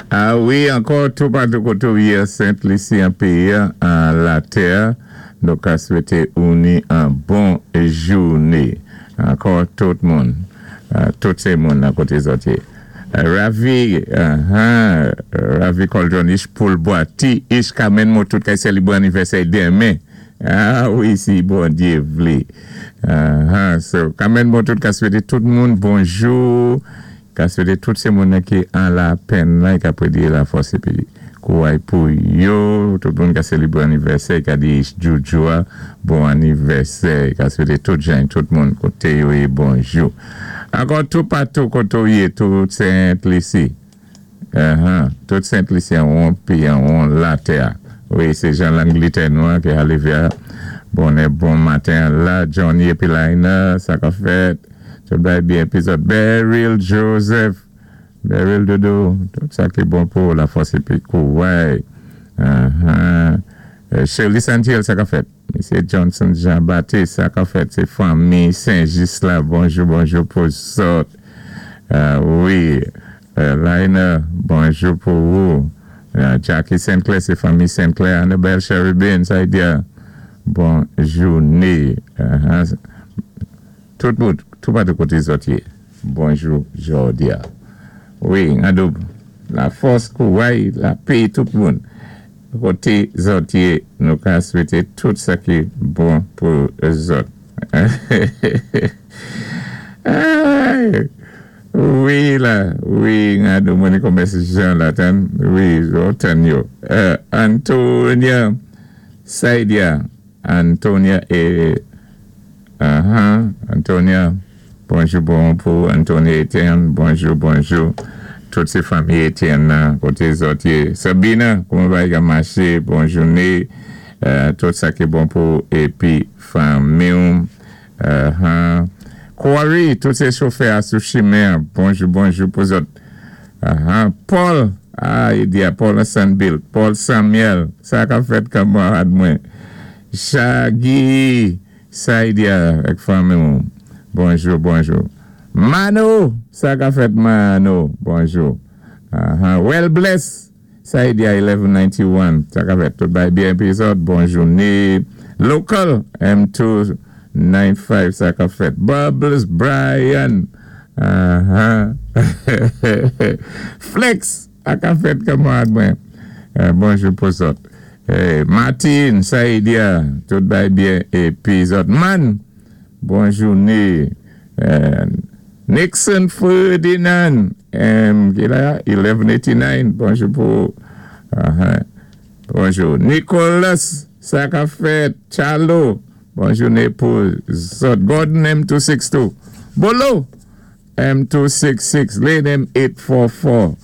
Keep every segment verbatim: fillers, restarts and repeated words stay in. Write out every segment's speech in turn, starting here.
Ah wi, ankò toupatou koté ou yé Sent Lisi an péyi an latè, nou ka swété ou ni an bon jouné. Ankò tout moun, tout sé moun nan koté zòt yé. Ravi, uh-huh, Ravi Coldron ich poul bwati, ich kamen mou tout kay sélibwé anivèsè denmen. Ah wi, si Bondyé vlé. Uh-huh, so, kamen mou tout ka swété tout moun bonjou, ka swété tout sé moun ki an lapenn la, ka pwédi lafòs épi kouway pou yo, tout moun ka sélibwé anivèsè, ka di Joujou bon anivèsè, ka swété tout jan, tout moun koté yo yé bonjou. Ankò toupatou koté ou yé, tout Sent Lisi. Uh-huh. Tout Sent Lisi an won péyi an won latè. Wi, sé jan Langlétè nou ki arivé bonè bon maten la, Johnny épi Lina, sa ka fèt. Tout bay byen épi zòt Beryl Joseph, Beryl Dodo, tout sa ki bon pou lafòs épi kouway. Uh-huh. Shirley Santiel, sa ka fèt. Mesye Johnson Jean-Baptiste, sa ka fèt. Sé fanmi Saint-Just la. Bonjou, bonjou pou zòt. Wi, Lina, bonjou pou ou. Jackie Sinclair, sé fanmi Sinclair. Annabelle Cherubin, sa di bon jouné. Tout moun, toupatou koté zòt yé. Bonjou, jòdi-a. Wi, adoub, lafòs kouway, lapè, tout moun. Koté zòt yé, nou ka swété tout sa ki bon pou zòt. Ay, wi la, wi, adou mwen komès jan la tan, wi, tan yo. Antonia Saidia, Antonia e, uh-huh, Antonia, bonjou bon pou Antonia Etienne, bonjou, bonjou. Tout sé fanmi Etienne koté zòt yé. Sabina, kouman bagay ka maché, bon jouné. Tout sa ki bon pou épi fanmi. Uh-huh. Corey, tout sé chofè a sou chimen, bonjou, bonjou pou zòt. Uh-huh. Paul, ah, i di a Paul Sanbill, Paul Samuel, sa ka fèt kanmarad mwen. Shaggy, Saidia, ak fanmi. Bonjou, bonjou. Mano, sa ka fèt Mano, bonjou. Uh-huh. Well bless, Saidia eleven ninety-one, sa ka fèt tout bay byen épi zòt, bon jouné. Local, M two nine five, sa ka fèt. Bubbles Brian, uh-huh. Flex, sa ka fèt kanmarad mwen. Bonjou pou zòt. Martin, Saidia, tout bay byen épi zòt. Man, bon jouné. Nixon Ferdinand, M, ki la, eleven eighty-nine, bonjou pou, uh-huh. Bonjou. Nicolas, sa ka fèt, Chalo, bon jouné pou zòt. Gordon M two six two, Bolo, M two six six, Lane M eight four four,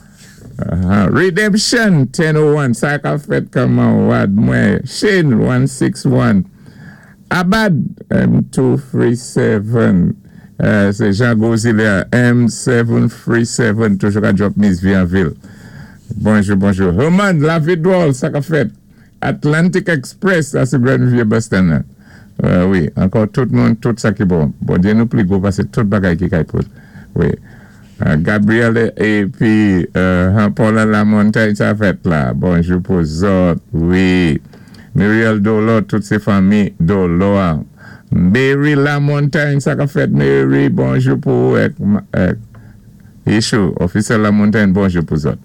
uh-huh. Redemption, ten oh one, sa ka fèt kanmarad mwen, Shane, one six one, Abad, M two three seven, sé Jean Gozilea, M seven three seven, toujou ka drop Miss Bienville. Bonjou, bonjou. Herman, la Vidwall, sa ka fèt. Atlantic Express, sa sé Grand Riviere Bus Stand. Wi, ankò tout moun, tout sa ki bon. Bondyé nou pli gwo pasé tout bagay ki kay pout. Wi. Gabriel épi Paul Lamontagne, sa fèt la. Bonjou pou zòt. Wi. Muriel Dolo, tout sé fanmi Dolo. Mary Lamontagne, sa ka fèt Mary, bonjou pou Ishou, officiel Lamontagne, bonjou pou zòt.